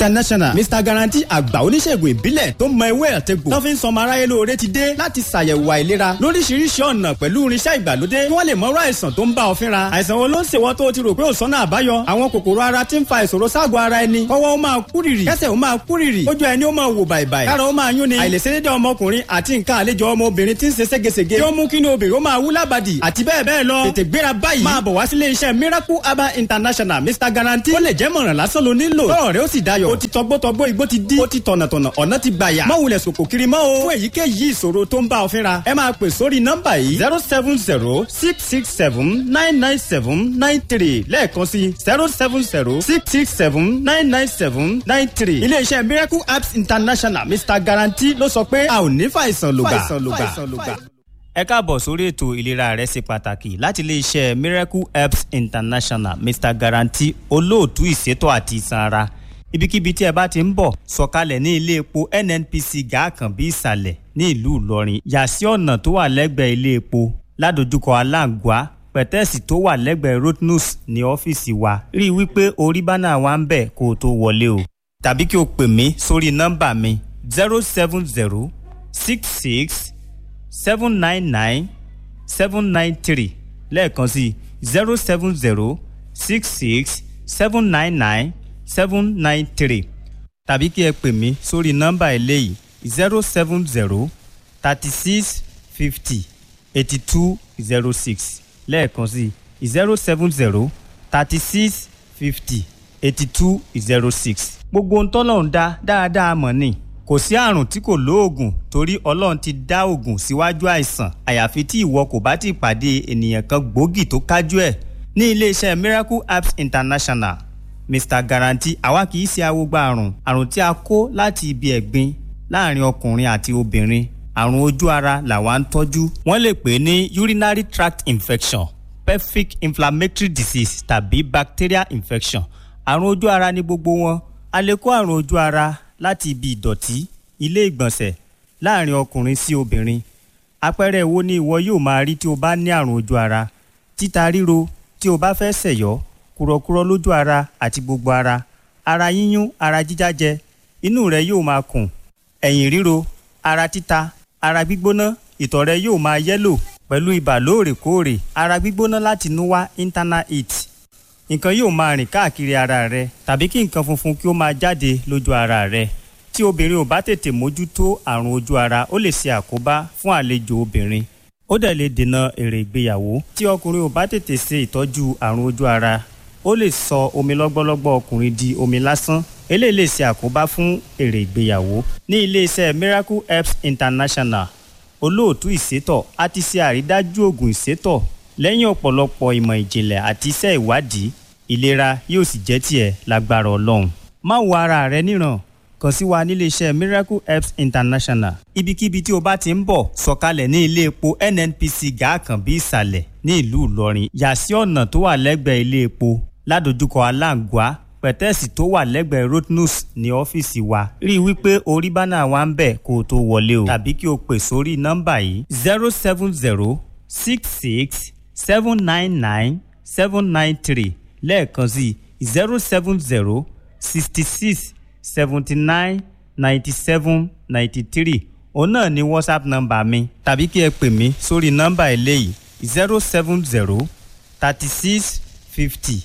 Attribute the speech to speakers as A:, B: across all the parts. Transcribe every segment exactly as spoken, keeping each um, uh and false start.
A: International, Mister Guarantee, àgbà oníṣègùn ìbílẹ̀ tó mọ ewé àtegbò tó fi ń sọmọ aráyé lóore, ti dé láti ṣàyẹ̀wò àìlera lóríṣiríṣi ọ̀nà pẹ̀lú irinṣẹ́ ìgbàlódé kí wọ́n lè mọ̀rọ̀ àìsàn tó ń bá ọ fínra. Àìsàn wo ló ń ṣèwọ́ tó o ti rò pé ò sọ́nà àbáyọ? Àwọn kòkòrò ara ti ń fa ìṣòro ságọ̀ ara ẹni, kọ́wọ́ ó máa kúrìrì, kẹ́sẹ̀ ó máa kúrìrì, ojú ẹni ó máa wò bàìbàì, kára ó máa yún ni, àìlèṣedédé ọmọkùnrin àti nǹkan àlejò ọmọbìnrin tí ń ṣe ségesège tí ó mú kí ni obìnrin ó máa wú lábàdì àti bẹ́ẹ̀ bẹ́ẹ̀ lọ. Tètè gbéra báyìí, máa bọ̀ wá sílé iṣẹ́ Miracle Herbal International, Mister Guarantee. Ó lè jẹ́ mọ̀ràn lásán ló nílò tọ́rọ̀ rẹ ó sì dayọ̀. Ó ti tọgbọ́tọgbọ́, igbó ti dí, ó ti tọ̀nàtọ̀nà, ọ̀nà ti gbàyà. Má wulẹ̀ sòkò kiri mọ́ o. Fún èyíkéyìí ìṣòro tó ń bá ọ fínra, ẹ máa pè sórí nọ́mbà yìí: zero seven zero six six seven nine nine seven nine three. Lẹ́ẹ̀kan sí: zero seven zero six six seven nine nine seven nine three. Iléeṣẹ́ Miracle Apps International, Mister Guarantee ló sọ pé a ò ní fàìsàn lògbà. Ẹ káàbọ̀ sórí ètò Ìlera rẹ ṣe pàtàkì láti iléeṣẹ́ Miracle Herbs International, Mister Guarantee, olóòtú ìṣètò àti ìsan ara. Ibikíbi tí ẹ bá ti ń bọ̀, sọ̀kalẹ̀ ní ilé epo N N P C Gàákànbí ìsàlẹ̀ ní ìlú Ìlọrin. Yà sí ọ̀nà tó wà lẹ́gbẹ̀ẹ́ ilé epo ládojúkọ Aláǹgbá, pẹ̀tẹ́ẹ̀sì tó wà lẹ́gbẹ̀ẹ́ Rotnus ní ọ́fíìsì wa. Rí i wípé orí banner wa ń bẹ̀ kó o tó wọlé o. Tàbí kí o pè mí sórí nọ́mbà mi: zero seven zero six six seven nine nine seven nine three. Lẹ́ẹ̀kan sí: zero seven zero six six seven nine nine seven nine three. Tàbí kí ẹ pè mí sórí nọ́mbà eléyìí: zero seven zero thirty six fifty eighty two zero six. Lẹ́ẹ̀kan sí: zero seven zero thirty six fifty eighty two zero six. Gbogbo ohun tọ́lọ́run dá dáadáa mọ̀ ni. Kò sí àrùn tí kò lóògùn, torí Ọlọ́run ti dá òògùn síwájú àìsàn, àyàfi tí ìwọ kò bá ti pàdé ènìyàn kan gbòógì tó kájú ẹ̀. Ní iléeṣẹ́ Miracle Apps International, Mister Guarantee, àwa kì í ṣe awogba àrùn. Àrùn tí a kó láti ibi ẹ̀gbin láàrin ọkùnrin àti obìnrin, àrùn ojú ara làwa ń tọ́jú. Wọ́n lè pè é ní urinary tract infection, pelvic inflammatory disease tàbí bacterial infection. Àrùn ojú ara ní gbogbo wọn. A lè kó àrùn ojú ara láti ibi ìdọ̀tí ilé ìgbọ̀nsẹ̀ láàrin ọkùnrin sí obìnrin. Àpẹẹrẹ wo ni ìwọ yóò máa rí tí o bá ní àrùn ojú ara? Títa ríro tí o bá fẹ́ ṣẹ̀yọ́, kúrọ̀kúrọ̀ lójú ara àti gbogbo ara, ara yíyún, ara jíjájẹ, inú rẹ yóò máa kùn, ẹ̀yìn ríro, ara títa, ara gbígbóná, ìtọ̀ rẹ yóò máa yellow pẹ̀lú ibà lóòrèkóòrè, ara gbígbóná láti inú wá, internal heat. Nǹkan yóò máa rìn káàkiri ara rẹ tàbí kí nǹkan funfun kí ó máa jáde lójú ara rẹ. Tí obìnrin ò bá tètè mójútó àrùn ojú ara, ó lè ṣe àkóbá fún àlejò obìnrin, ó dẹ̀ lè dènà èrè ìgbéyàwó. Tí ọkùnrin ò bá tètè ṣe ìtọ́jú àrùn ojú ara, ó lè sọ omi lọ́gbọ́lọ́gbọ́ ọkùnrin di omi lásán. Eléyìí lè ṣe àkóbá fún èrè ìgbéyàwó. Ní iléeṣẹ́ Miracle Herbs International, olóòtú ìsétọ̀, a ti ṣe àrídájú oògùn ìsétọ̀ lẹ́yìn ọ̀pọ̀lọpọ̀ ìmọ̀ ìjìnlẹ̀ àti iṣẹ́ ìwádìí. Ìlera yóò sì jẹ́ tiẹ̀ lágbára Ọlọ́run. Má wo ara rẹ níran, kàn sí wa níléeṣẹ́ Miracle Herbs International. Ibikíbi tí o bá ti ń bọ̀, sọ̀kalẹ̀ ní ilé epo N N P C Gàákànbí ìsàlẹ̀ ní ìlú Ìlọrin. Yà sí ọ̀nà tó wà lẹ́gbẹ̀ẹ́ ilé epo ládojúkọ Aláǹgbá, pẹ̀tẹ́ẹ̀sì tó wà lẹ́gbẹ̀ẹ́ Rotnus ní ọ́fíìsì wa. Rí i wípé orí banner wa ń bẹ̀ kó o tó wọlé o. Tàbí kí o pè sórí nọ́mbà yìí: zero seven zero six six seven nine nine seven nine three. Lẹ́ẹ̀kan sí: zero seven zero sixty six seventy nine ninety seven ninety three. Òun náà ni WhatsApp nọ́mbà mi. Tàbí kí ẹ pè mí sórí nọ́mbà eléyìí: zero seven zero thirty six fifty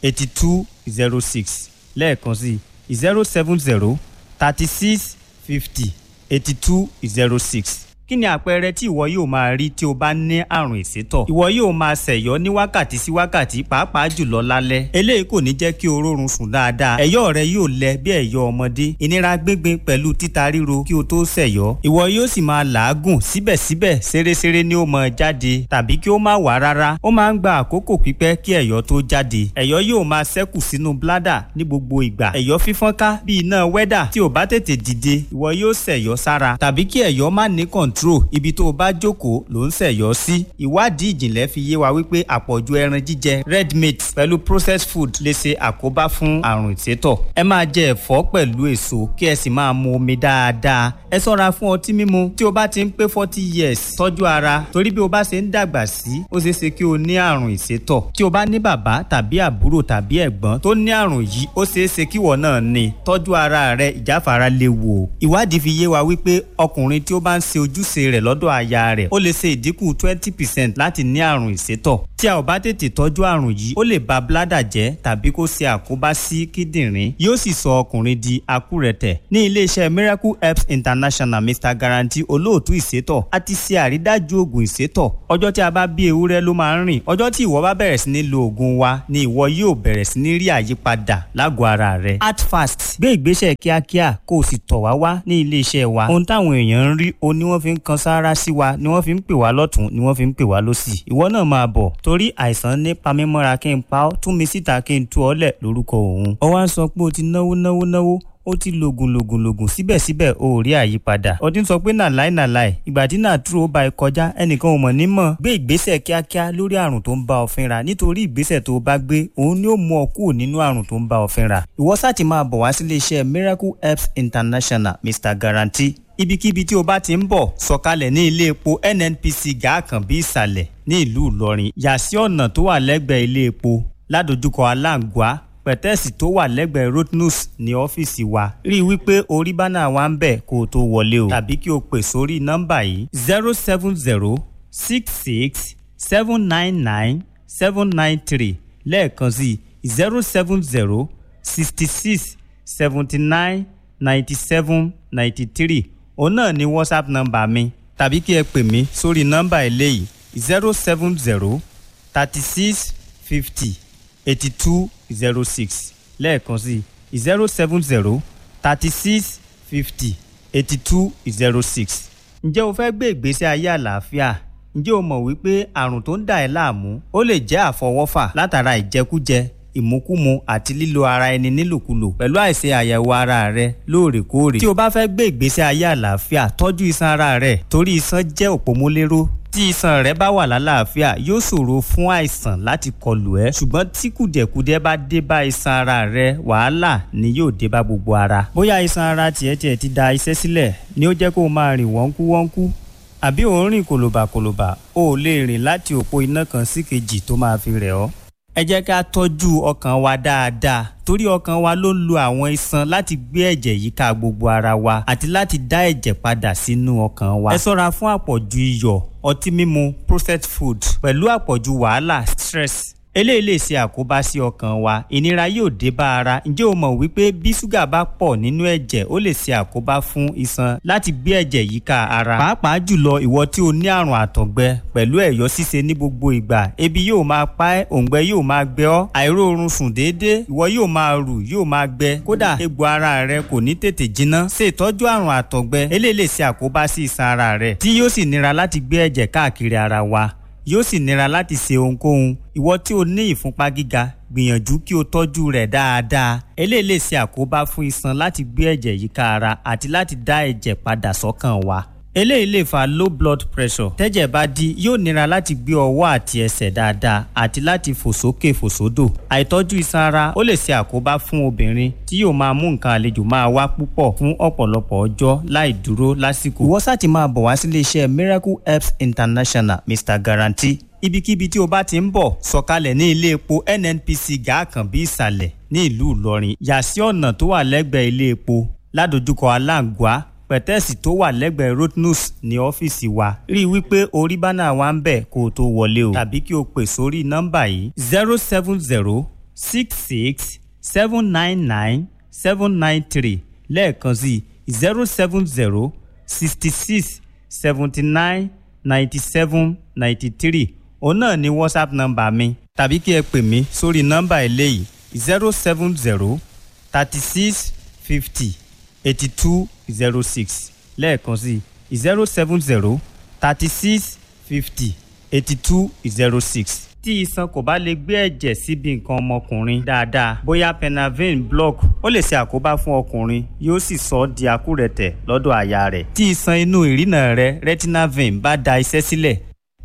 A: eighty two zero six. Lẹ́ẹ̀kan sí: zero seven zero thirty six fifty eighty two zero six. Kí ni àpẹẹrẹ tí ìwọ yóò máa rí tí o bá ní àrùn ìsétọ̀? Ìwọ yóò máa ṣẹ̀yọ́ ní wákàtí sí wákàtí, pàápàá jùlọ lálẹ́. Eléyìí kò ní jẹ́ kí o rórun sùn dáadáa. Ẹ̀yọ́ rẹ yóò lẹ bí ẹ̀yọ́ ọmọdé. Ìnira gbíngbin pẹ̀lú títa ríro kí o tó ṣẹ̀yọ́. Ìwọ yóò sì máa làágùn, síbẹ̀síbẹ̀ ṣeréṣeré ni ó máa jáde tàbí kí ó má wà rárá. Ó máa ń gba àkókò pípẹ́ kí ẹ̀yọ́ tó jáde. Ẹ̀yọ́ yóò máa ṣẹ́kù sínú bladder ní gbogbo ìgbà. Ẹ̀yọ́ fífọ́nká bí iná wẹ́dà. Tí ò bá tètè dìde, ìwọ yóò ṣẹ̀yọ́ sára tàbí kí ẹ̀yọ́ má ní control. kọ̀ǹtró ibi tó o bá jókòó ló ń ṣẹ̀yọ́ sí. Ìwádìí ìjìnlẹ̀ fi yé wa wípé àpọ̀jù ẹran jíjẹ, red meat pẹ̀lú processed food lè ṣe àkóbá fún àrùn ìsétọ̀. Ẹ máa jẹ ẹ̀fọ́ pẹ̀lú èso kí ẹ sì máa mu omi dáadáa. Ẹ ṣọ́ra fún ọtí mímu. Tí o bá ti ń pé forty years, tọ́jú ara, torí bí o bá ṣe ń dàgbà sí, ó ṣeé ṣe kí o ní àrùn ìsétọ̀. Tí o bá ní bàbá tàbí àbúrò tàbí ẹ̀gbọ́n tó ní àrùn yìí, ó ṣeé ṣe kíwọ náà ní. Tọ́jú ara rẹ, ìjáfara léwu o. Ìwádìí fi yé wa wípé ọkùnrin tí ó bá ń ṣe ojúṣe rẹ̀ lọ́dọ̀ aya rẹ̀, ó lè ṣe ìdínkù twenty percent láti ní àrùn ìsétọ̀. Tí a ò bá tètè tọ́jú àrùn yìí, ó lè ba bládà jẹ́ tàbí kó ṣe àkóbá sí kíndìnrín, yóò sì sọ ọkùnrin di akúrẹ̀tẹ̀. Ní iléeṣẹ́ Miracle Herbs International, Mister Guarantee, olóòtú ìsétọ̀, a ti ṣe àrídájú oògùn ìsétọ̀. Ọjọ́ tí a bá bí ewúrẹ́ ló máa ń rìn. Ọjọ́ tí ìwọ bá bẹ̀rẹ̀ sí ní lo oògùn wa ni ìwọ yóò bẹ̀rẹ̀ sí ní rí àyípadà lágọ̀ọ́ ara rẹ. Act fast, gbé ìgbésẹ̀ kíákíá kó o sì tọ̀ wá wá ní iléeṣẹ́ wa. Ohun táwọn èèyàn ń rí o ni wọ́n fi ń kan sáárá sí wa, ni wọ́n fi ń pè wá lọ́tún, ni wọ́n fi ń pè wá lọ́sì. Ìwọ náà máa bọ̀, torí àìsàn ní pamímọ́ra kí n pa ọ́, tún mi síta kí n tú ọ lẹ̀ lórúkọ òun. Ó wá ń sọ pé o ti náwó náwó náwó, ó ti lògùn lògùn lògùn, síbẹ̀síbẹ̀ o ò rí àyípadà. Ó ti ń sọ pé nàláì nàláì, ìgbà tí nàtúrò bá ẹ kọjá, ẹnìkan ò mọ̀ ní mọ̀. Gbé ìgbésẹ̀ kíákíá lórí àrùn tó ń bá ọ fínra, nítorí ìgbésẹ̀ tó o bá gbé òun ni ó mú ọ kúrò nínú àrùn tó ń bá ọ fínra. Ìwọ sáà ti máa bọ̀ wá sílé iṣẹ́ Miracle Herbs International, Mister Guarantee. Ibikíbi tí o bá ti ń bọ̀, sọ̀kalẹ̀ ní ilé epo N N P C Gàákànbí ìsàlẹ̀ ní ìlú Ìlọrin. Yà sí ọ̀nà tó wà lẹ́gbẹ̀ẹ́ ilé epo ládojúkọ Aláǹgbá, pẹ̀tẹ́ẹ̀sì tó wà lẹ́gbẹ̀ẹ́ Rotnus ní ọ́fíìsì wa. Rí i wípé orí bánà wa ń bẹ̀ kó o tó wọlé o, tàbí kí o pè sórí nọ́mbà yìí: zero seven zero six six seven nine nine seven nine three. Lẹ́ẹ̀kan sí: zero seven zero sixty six seventy nine ninety seven ninety three. Òun náà ni WhatsApp nọ́mbà mi, tàbí kí ẹ pè mí sórí nọ́mbà eléyìí: zero seven zero thirty six fifty eighty two zero six. Lẹ́ẹ̀kan sí: zero seven zero thirty six fifty eighty two zero six. Ǹjẹ́ o fẹ́ gbé ìgbésí ayé àlàáfíà? Ǹjẹ́ o mọ̀ wípé àrùn tó ń dà ẹ́ láàmú ó lè jẹ́ àfọwọ́fà látara ìjẹkújẹ, ìmúkúmu àti lílo ara ẹni nílòkulò pẹ̀lú àìṣe àyẹ̀wò ara rẹ lóòrèkóòrè? Tí o bá fẹ́ gbé ìgbésí ayé àlàáfíà, tọ́jú iṣan ara rẹ, torí iṣan jẹ́ òpómúléró. Tí iṣan rẹ bá wà lálàáfíà, yóò ṣòro fún àìsàn láti kọlù ẹ́, ṣùgbọ́n tí kùdẹ̀kùdẹ̀ bá dé bá iṣan ara rẹ, wàhálà ni yóò dé bá gbogbo ara. Bóyá iṣan ara tiẹ̀ tiẹ̀ ti da iṣẹ́ sílẹ̀ ni ó jẹ́ kó o máa rìn wọ́nkú wọ́nkú, àbí ò ń rìn kòlòbàkòlòbà, o ò lè rìn láti òpó iná kan sí kejì tó máa fi rẹ̀ ọ́. Ẹ jẹ́ ká tọ́jú ọkàn wa dáadáa, torí ọkàn wa ló ń lo àwọn iṣan láti gbé ẹ̀jẹ̀ yíká gbogbo ara wa àti láti dá ẹ̀jẹ̀ padà sínú ọkàn wa. Ẹ ṣọ́ra fún àpọ̀jù iyọ̀, ọtí mímu, processed food pẹ̀lú àpọ̀jù wàhálà, stress. Eléyìí lè ṣe àkóbá sí ọkàn wa, ìnira yóò dé bá ara. Ǹjẹ́ o mọ̀ wípé bí ṣúgà bá pọ̀ nínú ẹ̀jẹ̀, ó lè ṣe àkóbá fún iṣan láti gbé ẹ̀jẹ̀ yíká ara? Pàápàá jùlọ ìwọ tí o ní àrùn àtọ̀gbẹ pẹ̀lú ẹ̀yọ́ ṣíṣe ní gbogbo ìgbà, ebi yóò máa pa ẹ́, òǹgbẹ yóò máa gbẹ ọ́, àìróorun sùn déédéé, ìwọ yóò máa rù, yóò máa gbẹ, kódà egbò ara rẹ kò ní tètè jiná. Ṣe ìtọ́jú àrùn àtọ̀gbẹ. Eléyìí lè ṣe àkóbá sí iṣan ara rẹ, tí yóò sì nira láti gbé ẹ̀jẹ̀ káàkiri ara wa, yóò sì nira láti ṣe ohunkóhun. Ìwọ tí o ní ìfúnpá gíga, gbìyànjú kí o tọ́jú rẹ̀ dáadáa. Eléyìí lè ṣe àkóbá fún iṣan láti gbé ẹ̀jẹ̀ yíká ara àti láti dá ẹ̀jẹ̀ padà sọ́kàn wa. Eléyìí lè fa low blood pressure. Tẹ́jẹ̀ bá dí, yóò nira láti gbé ọwọ́ àti ẹsẹ̀ dáadáa àti láti fò sókè fò sódò. Àìtọ́jú iṣan ara ó lè ṣe àkóbá fún obìnrin tí yóò máa mú nǹkan àlejò máa wá púpọ̀ fún ọ̀pọ̀lọpọ̀ ọjọ́ láì dúró lásìkò. Ìwọ sáà ti máa bọ̀ wá sílé iṣẹ́ Miracle Herbs International, Mister Guarantee. Ibikíbi tí o bá ti ń bọ̀, sọ̀kalẹ̀ ní ilé epo N N P C Gàákànbí ìsàlẹ̀ ní ìlú Ìlọrin. Yà sí ọ̀nà tó wà lẹ́gbẹ̀ẹ́ ilé epo ládojúkọ Aláǹgbá, pẹ̀tẹ́ẹ̀sì tó wà lẹ́gbẹ̀ẹ́ Rotnus ní ọ́fíìsì wa. Rí i wípé orí bánà wa ń bẹ̀ kó o tó wọlé o, tàbí kí o pè sórí nọ́mbà yìí: zero seven zero six six seven nine nine seven nine three. Lẹ́ẹ̀kan sí: zero seven zero sixty six seventy nine ninety seven ninety three. Òun náà ni WhatsApp nọ́mbà mi, tàbí kí ẹ pè mí sórí nọ́mbà eléyìí: zero seven zero thirty six fifty eighty two zero six. Lẹ́ẹ̀kan sí: zero seven zero thirty six fifty eighty two zero six. Tí iṣan kò bá lè gbé ẹ̀jẹ̀ síbi nǹkan ọmọkùnrin dáadáa, bóyá penavin block, ó lè ṣe àkóbá fún ọkùnrin, yóò sì sọ ọ́ di akúrẹ̀tẹ̀ lọ́dọ̀ aya rẹ̀. Tí iṣan inú ìrìnà rẹ, retinal vein, bá da iṣẹ́ sílẹ̀,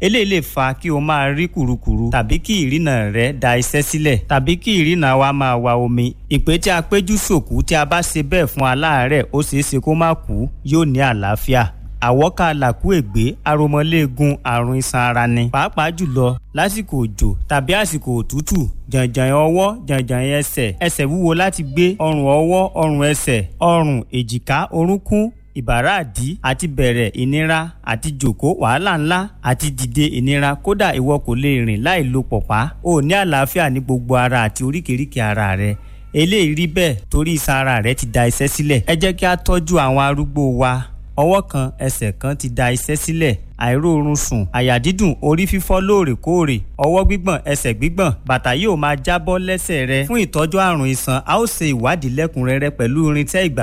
A: eléyìí lè fa kí o máa rí kùrukùru tàbí kí ìrìnà rẹ da iṣẹ́ sílẹ̀ tàbí kí ìrìnà wa máa wa omi. Ìpè tí a péjú sòkú, tí a bá ṣe bẹ́ẹ̀ fún aláàárẹ̀, ó ṣeé ṣe kó má kú, yóò ní àlàáfíà. Àwọ́ká làkú ègbé, aromọléegun, àrùn iṣan ara ni, pàápàá jùlọ lásìkò òjò tàbí àsìkò òtútù. Jàǹjàǹ ọwọ́, jàǹjàǹ ẹsẹ̀, ẹsẹ̀ wúwo láti gbé, ọrùn ọwọ́, ọrùn ẹsẹ̀, ọrùn, èjìká, orúnkún, ìbàràdí àti bẹ̀rẹ̀ ìnira, àti jòkó wàhálà ńlá, àti dìde ìnira, kódà ìwọ kò lè rìn láì lo pọ̀pá. O ní àlàáfíà ní gbogbo ara àti oríkèéríkèé ara rẹ. Eléyìí rí bẹ́ẹ̀ torí iṣan ara rẹ ti da iṣẹ́ sílẹ̀. Ẹ jẹ́ kí a tọ́jú àwọn arúgbó wa. Ọwọ́ kan, ẹsẹ̀ kan ti da iṣẹ́ sílẹ̀, àìróorun sùn, àyà dídùn, orí fífọ́ lóòrèkóòrè, ọwọ́ gbígbọ̀n, ẹsẹ̀ gbígbọ̀n, bàtà yóò máa jábọ́ lẹ́sẹ̀ rẹ. Fún ìtọ́jú àrùn iṣan, a ó ṣe ìwádìí lẹ́kùnrẹ́rẹ́ pẹ̀lú irinṣẹ́ ìgbàlódé.